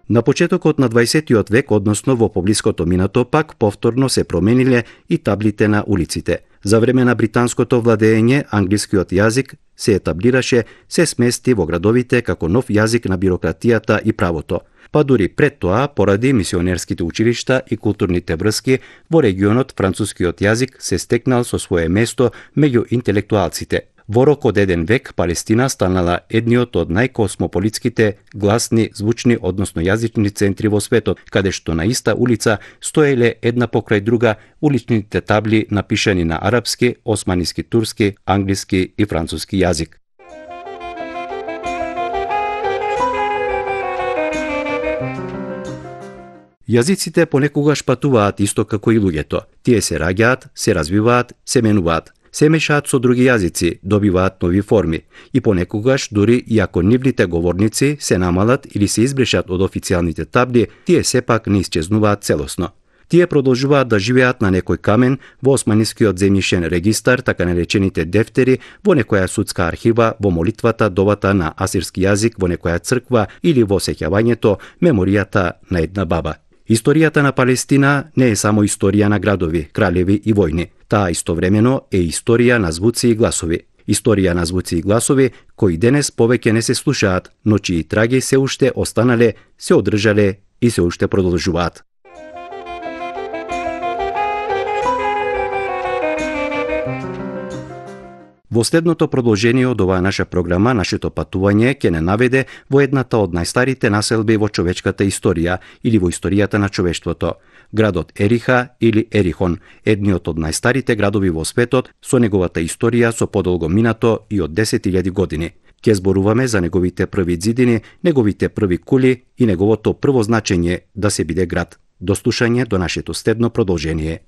На почетокот на 20 век, односно во поблиското минато, пак повторно се промениле и таблите на улиците. За време на британското владење, англискиот јазик се етаблираше, се смести во градовите како нов јазик на бирократијата и правото. Па дури пред тоа, поради мисионерските училишта и културните врски, во регионот францускиот јазик се стекнал со свое место меѓу интелектуалците. Во рок од еден век Палестина станала едниот од најкосмополитските, гласни, звучни, односно јазични центри во светот, каде што на иста улица стоеле една покрај друга уличните табли напишани на арапски, османиски, турски, англиски и француски јазик. Јазиците понекогаш патуваат исто како и луѓето. Тие се раѓаат, се развиваат, се менуваат. Се мешаат со други јазици, добиваат нови форми и понекогаш дури и ако нивните говорници се намалат или се избришат од официјалните табли, тие сепак не исчезнуваат целосно. Тие продолжуваат да живеат на некој камен во османискиот земјишен регистар, така наречените дефтери, во некоја судска архива, во молитвата, довата на асирски јазик, во некоја црква или во сеќавањето, меморијата на една баба. Историјата на Палестина не е само историја на градови, кралеви и војни. Таа истовремено е историја на звуци и гласови. Историја на звуци и гласови кои денес повеќе не се слушаат, но чии траги се уште останале, се одржале и се уште продолжуваат. Во следното продолжение од оваа наша програма, нашето патување ќе не наведе во едната од најстарите населби во човечката историја или во историјата на човештвото, градот Ериха или Ерихон, едниот од најстарите градови во светот со неговата историја со подолго минато и од 10.000 години. Ќе зборуваме за неговите први ѕидини, неговите први кули и неговото прво значење да се биде град. До слушање до нашето следно продолжение.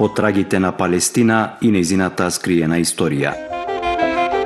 По трагите на Палестина и нејзината скриена историја.